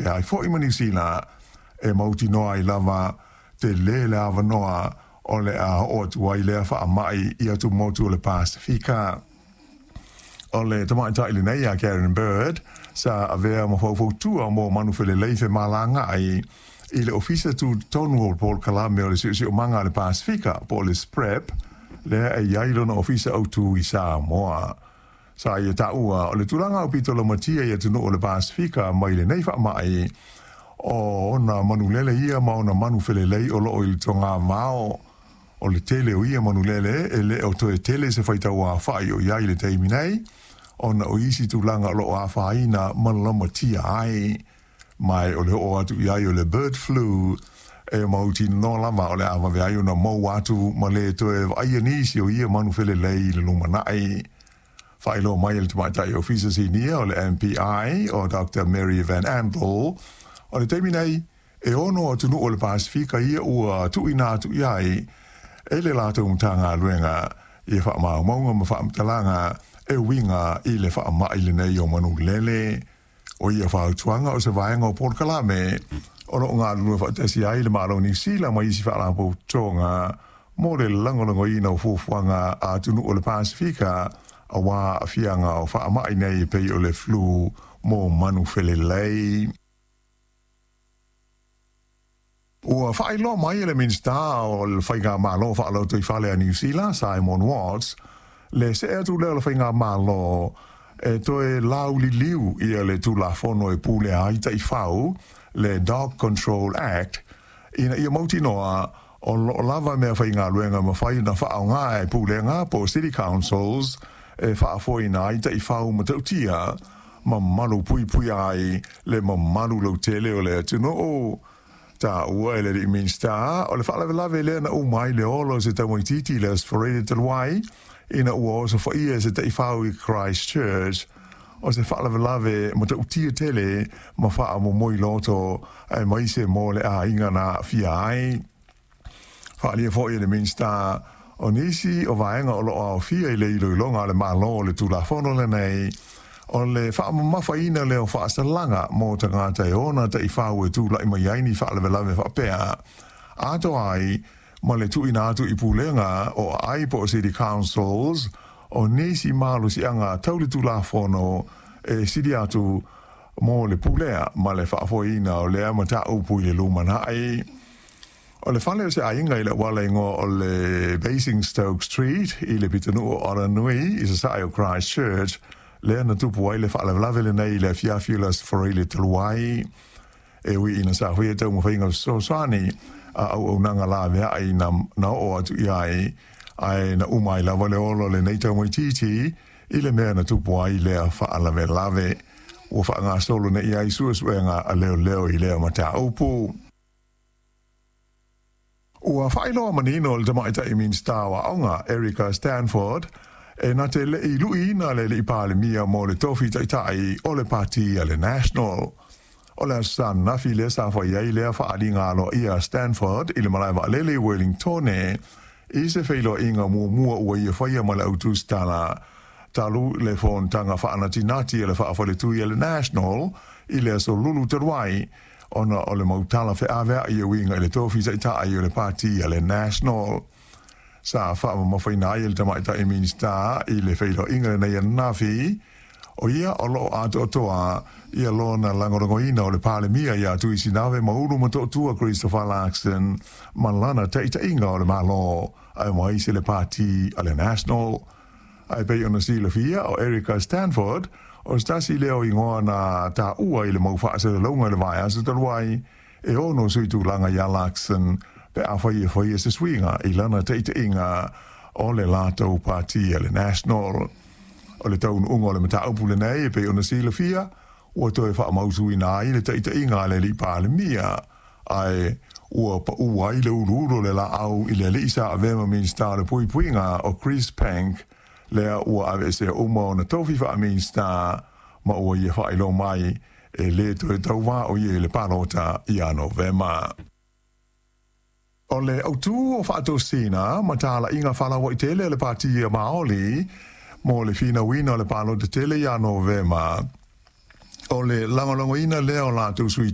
faapea ai foi ma Niu Sila e mautinoa ai lava tele le avanoa o le a oo atu ai lea faamai i atumotu o le Pasefika. O le tamaitai lenei a Karen Bird sa avea ma faufautua mo manu felelei femalagaai i le Ofisa Tutotonu o le Polokalame o le Siosiomaga a le Pasefika po o le SPREP, lea e i ai lona ofisa autu i Samoa. Sa ia taua o le tulaga aupito laumatia i atunuu o le Pasefika mai lenei faamai o ona manulele ia ma ona manu felelei o loo i le togavao. O le tele o ia manulele e le o toe tele se faitau aofai o i ai i le taimi nei, ona o isi tulaga o lo o afaina ma laumatia ai. Ma o le oo atu i ai o le bird flu e mautinoa lava o le a vave ai ona mou atu ma le toe vaaia nisi o ia manu felelei i le lumanai. Faailoa mai e le tamaitai ofisa sinia o le MPI o Dr. Mary Van Andel, o le taimi nei e 6 atunuu o le Pasefika ia ua tuuina atu i ai e le latou Matagaluega ia faamaumauga ma faamatalaga e uiga i le faamai lenei o manulele. O ia fautuaga o se vaega o polokalame o loo galulue faatasi ai le Malo o Niu Sila ma isi faalapotopotoga mo le lagolagoina o fuafuaga a atunuu o le Pasefika aua aafiaga o faamai nei e pei o le flu mo manu felelei. Ua faailoa mai e le Minisita o le Faigamalo Faalotoifale a Niu Sila, Simon Watts, le see atu lea o le Faigamalo e toe lauliliu ia le Tulafono e pulea ai taifau, le Dog Control Act, ina ia mautinoa o loo lava mea faigaluega mafai ona faaaoga e pulega po o City Councils e faafoeina ai taifau matautia ma malu puipuia ai le mamalu lautele o le atunuu. Taua e le alii Minisita o le faalavelave lea na uma ai le ola o se tamaitiiti i le Aso Faraile talu ai, ina ua osofaia e se taifau i Christchurch, o se faalavelave matautia tele ma faamomoi loto aemaise mo le aiga na aafia ai. Faaalia foi e le Minisita o nisi o vaega o loo aofia i le iloiloga a le Malo o le Tulafono lenei, o le faamamafaina lea o faasalaga mo tagata e ona taifau e tulai mai ai ni faalavelave faapea, atoa ai ma le tuuina atu i pulega o aai po o City Councils o nisi malosiaga tau le Tulafono e sili atu mo le pulea ma le faafoeina o lea mataupu i le lumanai. O le fale o se aiga i le auala igoa o le Basingstoke Street i le pitonuu o Aranui i sasae o Christchurch lea na tupu ai le faalavelave lenei i le afiafi o le Aso Faraile talu ai. E ui ina sa faia taumafaiga fesoasoani a auaunaga laveai na oo atu i ai, ae na uma ai lava le ola o lenei tamaitiiti i le mea na tupu ai lea faalavelave. Ua faagasolo nei ai suesuega a leoleo i lea mataupu. Ua faailoa manino e le tamaitai Minisita o Aoga, Erica Stanford, e na te le i luiina le alii Palemia mo le tofi taitai o le pati a le National. O le aso Sa ananafi lea sa fai ai lea faaaliga aloaia a Stanford i le malae vaalele i Wellingtone i se feiloaiga muamua ua ia faia ma le au tusitala talu le fonotaga faanatinati a le faafaletui a le National i le aso Lulu talu ai, ona o le mau tala feaveai e uiga i le tofi taitai o le pati a le National. Sa faamamafaina ai e le tamaitai Minisita i le feiloaiga lenei ananafi, o ia o loo atoatoa ia lona lagolagoina o le Palemia ia Tuisinave Maulu Motootua Christopher Luxon ma lana taitaiga o le Malo aemaise le pati a le National. Ae pei ona silafia o Erica Stanford o se tasi lea o igoa na taua i le mau faasalalauga i le vaiaso talu ai e ono sui tulaga ia Luxon pe afai e faia se suiga i lana taitaiga o le latou pati a le National. O le taunuuga o le mataupu lenei e pei ona silafia ua toe faamautuina ai le taitaiga a le alii Palemia, ae ua pau ai le uluulu o le laau i le alii sa avea ma Minisita o le Puipuiga o Chris Penk, lea ua aveesea uma ona tofi faa-Minisita ma ua ia faailoa mai e le toe tauvā o ia i le palota ia Novema. O le autū o faatosina ma talaiga faalauaitele a le Pati a Maoli mo le finauina o le palota tele ia Novema, o le lagolagoina lea o latou sui